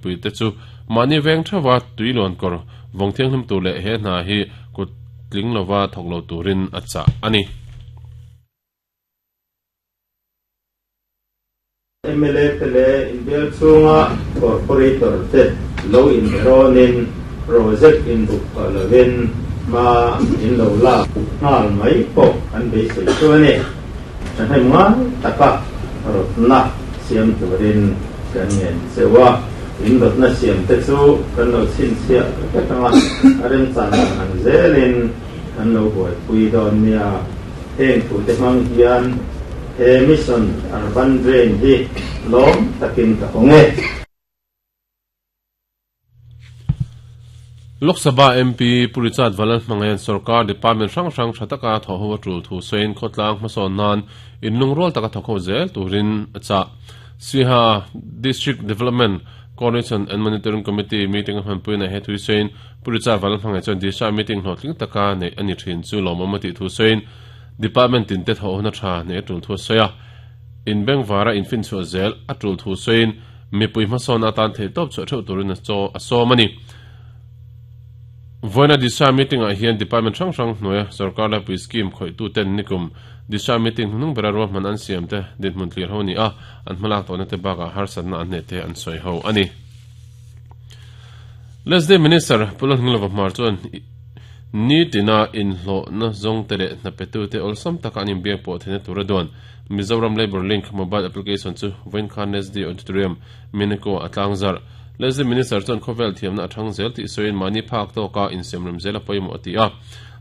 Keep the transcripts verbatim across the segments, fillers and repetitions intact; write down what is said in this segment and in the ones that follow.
Puite chu mani veng thawa tuilon kor vong thiang hlum tu le he hna hi kut tling lova thoklo turin acha ani. M L A tele inbel chunga corporator te lo in ronin project in buk lovin ma in lo la ngal mai po an be sei chu ani hei nga taka rotna siam turin kan ngen chewa in rotna siam te chu kan lo chin sia ka tanga arem chan an zelin kan lo boi pui don nia heng thu te mang hian he mission urban drain hi lom takin ka honge. Lok Sabha M P Purichat Valan Mangayan Sarkar Department Rang Rang Thataka Thoho Tul Thu Sein Khotlang Mason Nan in Lungrol taka thokho zel turin acha Siha District Development Coordination and Monitoring Committee meeting han puina he thui sein Purichat Valan Mangayan chon disha meeting hlotling taka nei ani thin chu lomamati thu sein Department in te tho na tha ne tul thu soya in bengvara in fin chu zel atul thu sein mipui hmasawn atan thei top chu theu turin a chaw a sawm ani. Voina disha meeting a hian department rang rang hnuaia sarkar la pui scheme khoi tu ten nikum disha meeting hnung bera ro man an siam te din hmun tlir ho ni a an hmalak tawna te baka harsatna an ne te an sawi ho ani. Lesday Minister Pulon Hnglova Hmar chuan ni tina in hlo na zong te leh hna petu te awlsam taka an inbiak pawh theihna tura duan Mizoram Labour Link mobile application chu vawiin khan N S D Auditorium Mineko a tlang zar. Leslie Minister chuan khawvel thiamna a thang zel tih sawiin mahni phak tawka insiamrem zel a pawimawh a ti a.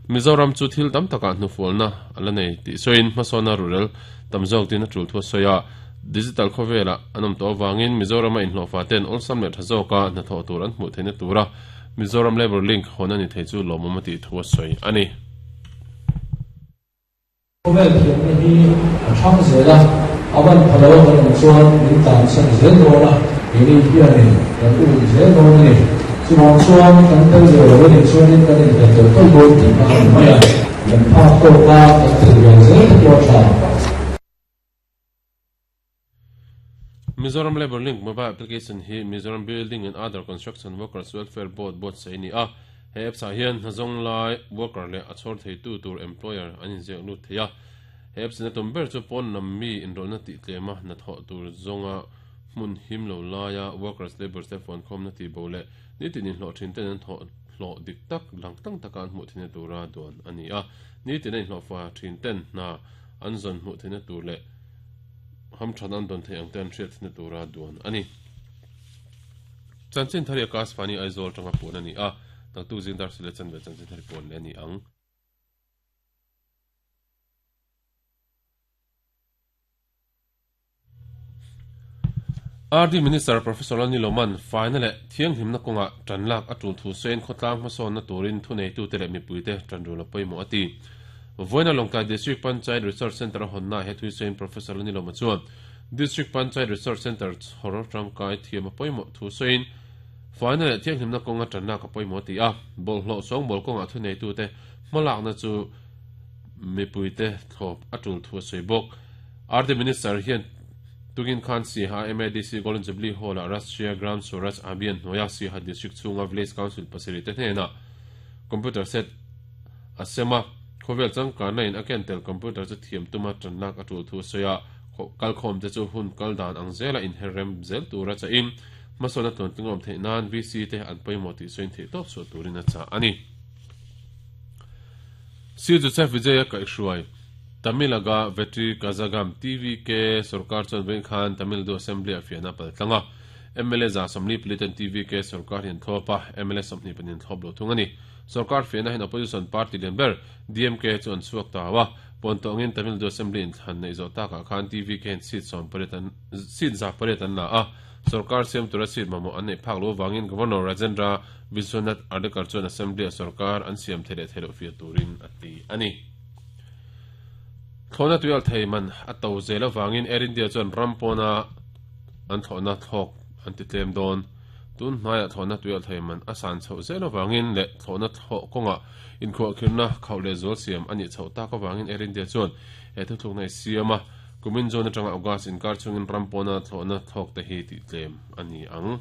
Mizoram chu thil tam taka hnufualna a la nei tih sawiin hmasawnna rural tam zawk tin a tul thu a sawi a. Digital khawvela an awm tawh avangin Mizoram a inhlawhfa ten awlsam leh tha zawka hnathawh tur an hmuh theihna tura Mizoram Labour Link hawn ani thei chu lawmawm a tih thu a sawi ani. Khawvel thiamna hi a thang zel a, avan phalo kan awm chuan min tan sak zel dawn a, ini hianin kan um zel dawn ani. Chuvang chuan kan tel ve lo ani chuanin kan inhel tel tawlh dawn tih kha ani mai a, kan phak tawka kan tel ve zel te pawh a tha. Mizoram Labour Link mobile application hi Mizoram Building and Other Construction Workers Welfare Board board sei ni a. He apps ah hian hnazawng lai worker leh a chhawr thei tu tur employer an inziak lut thei a. He apps in a tum ber chu pawn lam mi inrawlna tih tlema hnathawh tur zawnga hmun him lo laia workers labour te phone khawm na ti bo leh nitin inhlawh thin ten an thawh hlawh dik tak lang tang taka an hmuh theihna tura duan ani a. Nitin a inhlawh fa thin ten hna an zawn hmuh theihna tur leh ham than an don thei ang te an hriat theihna tura duan ani. Chanchin thari Akash Fani Aizawl tanga puan ani a. Naktu zindar sile chanve chanchin thari puan le ani ang. R D Minister Professor Lani Loman final le thiang himna konga tanlak atul thu sein khotlang hmasawn na turin thunei tu te leh mipui te tanrul a pawimawh a ti. Voina Lawngtlai District Panchayat Research Center honna he thui sein Professor Lani Loma chuan District Panchayat Research Center chhor tangkai thiam a pawimawh thu sein final le thiang himna konga tanlak a pawimawh ti a. Bol hlo sawng bol konga thunei tu te hmalak na chu mipui te thlawp atul thu a sawi bawk. R D Minister hian Tugin Khan Siha M A D C Golden Jubilee Hall a Rashtriya Gram Swaraj Abhiyan hnuaia Siha District chhunga Village Council pasarih te hnena computer set asema khawvel changkanna in a ken tel computer chu thiam tuma tanlak a tul thu a sawi a. Kalkhawm te chu hun kal dan ang zela inherrem zel tura cha in hmasawnna tluan tlingawm theih nan V C te an pawimawh tih sawiin theih tawp chhuah turin a cha ani. Si Joseph Vijaya Kaihhruai Tamilaga Vetri Kazagam T V K Sarkar chuan vawiin khan Tamil Nadu Assembly a fiahna paltlanga M L A za sawmli palitan T V K Sarkar hian thlawp a, M L A sawmhnih pahnih thlawp lo thung ani. Sarkar fiahna hian opposition party lian ber D M K chu an chhuak ta a. Pawntawngin Tamil Nadu Assembly in thlan nei zawh takah khan T V K hian seat sawm pariat an seat za pariat an la a. Sarkar siam tura seat mamawh an nei phak lo wangin Governor Rajendra Vishwanath Ardekar chuan Assembly a Sarkar an siam thei leh thei loh fiah turin a ti ani. Thlawhna tuial thei man a to zel awangin Air India chuan rampawna an thlawhna thlawk an ti tlem dawn. Tun hnaia thlawhna tuial thei man a san chhoh zel awangin leh thlawhna thlawh kawnga inkhuah khirna khauh leh zual siam ani chhoh tak awangin Air India chuan he thuthlukna i siam a. Kumin zone atanga August inkar chungin rampawna thlawhna thlawk te hi ti tlem ani ang.